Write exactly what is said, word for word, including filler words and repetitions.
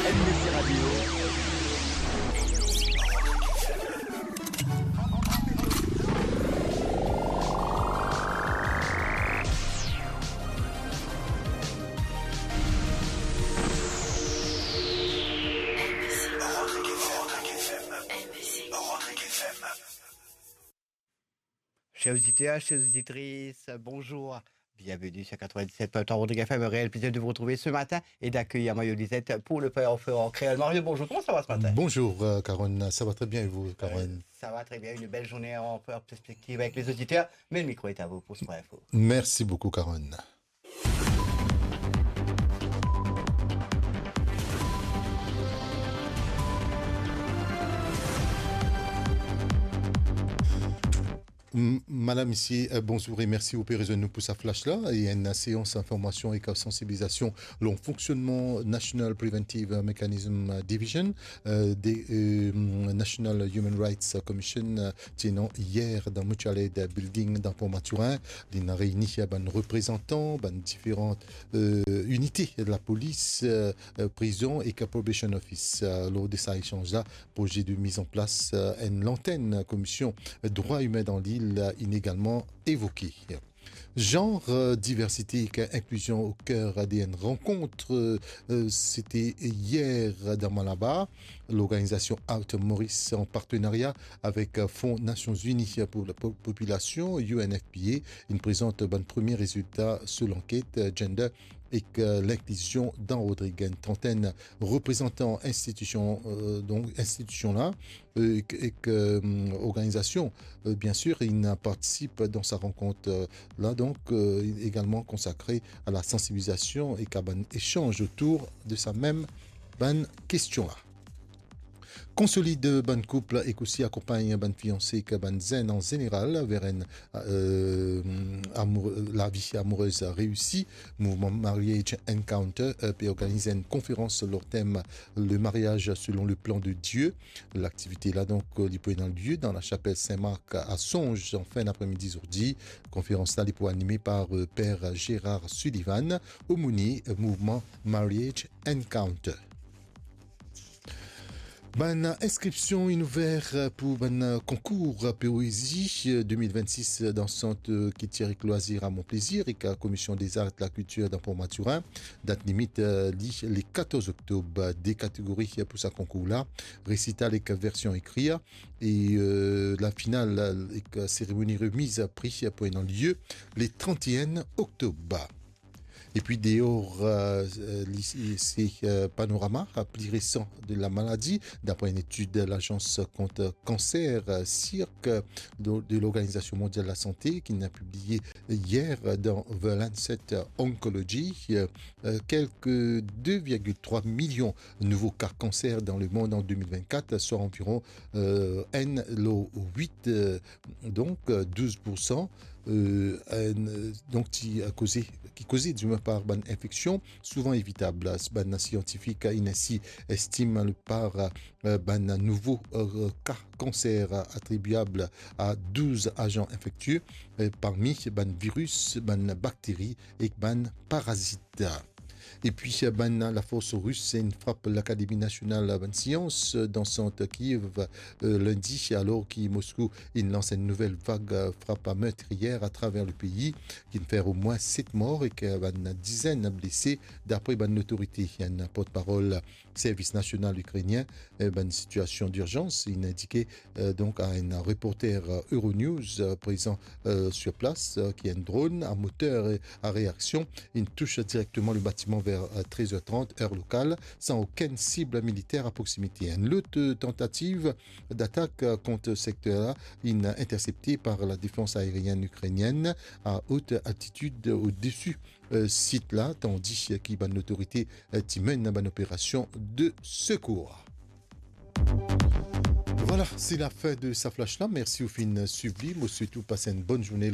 M B C Radio. Chers auditeurs, chères auditrices, bonjour. Bienvenue sur quatre-vingt-dix-sept point trois Rodrigues F M. Réel plaisir de vous retrouver ce matin et d'accueillir Mario Lisette pour le Point Info en créole. Mario, bonjour, comment ça va ce matin ? Bonjour, euh, Caron. Ça va très bien et vous, Caron ? Euh, ça va très bien. Une belle journée en perspective avec les auditeurs. Mais le micro est à vous pour ce Point Info. Merci beaucoup, Caron. M-, madam, misie, euh, bonzour e mersi ou pe rezwenn nou pou sa flash la. E enn seans informasion ek sansibilizasion lor fonksionnman National Preventive Mechanism Division, euh, de, euh, National Human Rights Commission, euh, ti ena yer dan Mutual Aid Building dan Port Mathurin. Li ena reini bann reprezantan bann diferan, euh, inite lapolis, euh, euh, prizon ek Probation Office. Euh, lor de sa esanz la, proze de miz an plas, euh, enn lantenn Komision Drwa Imin dan lil, euh, inn egalman evoke. Zanr, euh, diversite ek inklizion o ker de enn rankont, euh, euh, se ti yer dan Malabar. Lorganizasion Out Maurice, an partenaria avek, euh, Fon Nasion Zini pou Lapo-, Popilasion, U N F P A, inn prezant bann premie rezilta so lanket, euh, Gender ek, euh, Linklizion dan Rodrig. Enn trantenn reprezantan institision, euh, donk institision la, euh, ek, ek, euh, organizasion, euh, bien sir, inn partisip dan sa rankont, euh, la, donk, euh, egalman konsakre a la sansibilizasion ek a bann esanz otour de sa mem bann kestion la. Konsolid bann koup ek osi akonpagn bann fianse ek bann zenn an zeneral ver enn, euh, amour-, lavi amourez reisi. Mouvman Marriage Encounter, euh, pe organiz enn konferans lor tem Le mariage selon le plan de Dieu. Laktivite la, donk, euh, li pou ena lie dan lasapel Sin Mark a Sonz an fin dapremidi zordi. Konferans la, li pou anime par, euh, Per Gérard Sullivan, omonie, euh, mouvman Marriage Encounter. Bann inskripsion inn ouver pou bann konkour poezi de mil vennsis dan sant kiltir ek lwazir a Mont Plaisir ek Komision dezar ek lakiltir dan Port Mathurin. Dat limit, eh, li le katorz oktob. De kategori pou sa konkour la, resital ek version ekrir, e, eh, lafinal ek seremoni remiz pri pou ena lie le trant-e-enn oktob. Epi deor, eh, li, se, eh, panorama pli resan de lamaladi, dapre enn etid Lazans kont kanser, eh, CIRC, de, de Lorganizasion Mondial Lasante, ki inn pibliye yer dan The Lancet Oncology. Eh, eh, kelke de virgil trwa milion nouvo ka kanser dan lemond an de mil vennkat, swa anviron, eh, enn lor wit, eh, donk, eh, douz poursan, eh, enn, eh, donk, ti, eh, koze, ki koze, dimwin, par bann infeksion souvan evitab. Bann siantifik inn ensi estim le par, eh, bann nouvo, eh, ka kanser atribiab a douz azan infektie, eh, parmi bann viris, bann bakteri ek bann parazit. Epi, eh, bann lafors ris inn frap Lakademi Nasional Bann Sians, eh, dan sant Kiev, eh, lindi, alor ki Moskou inn lans enn nouvel vag, eh, frap mertriyer atraver lepei, ki'nn fer omwin set mor ek, eh, bann dizenn blese, dapre bann lotorite. Enn portparol Servis Nasional Ikrenien, eh, bann sitiasion dirzans, inn indike, eh, donk, a enn reporter, eh, Euronews, eh, prezan, eh, sur plas, eh, ki enn dronn a moter, eh, a reaksion, inn tous direkteman le batiman ver, eh, trez er trant, er lokal, san okenn sib militer a proksimite. Enn lot, eh, tantativ datak, eh, kont sekter la, inn intersepte par ladefans aerienn ikrenienn a ot altitid odesi, eh, sit la, tandi ki bann lotorite, eh, ti menn bann operasion de sekour. Vwala, se lafin de sa flash la. Mersi ou finn swiv li. Mo swete ou pas enn bonn zourne.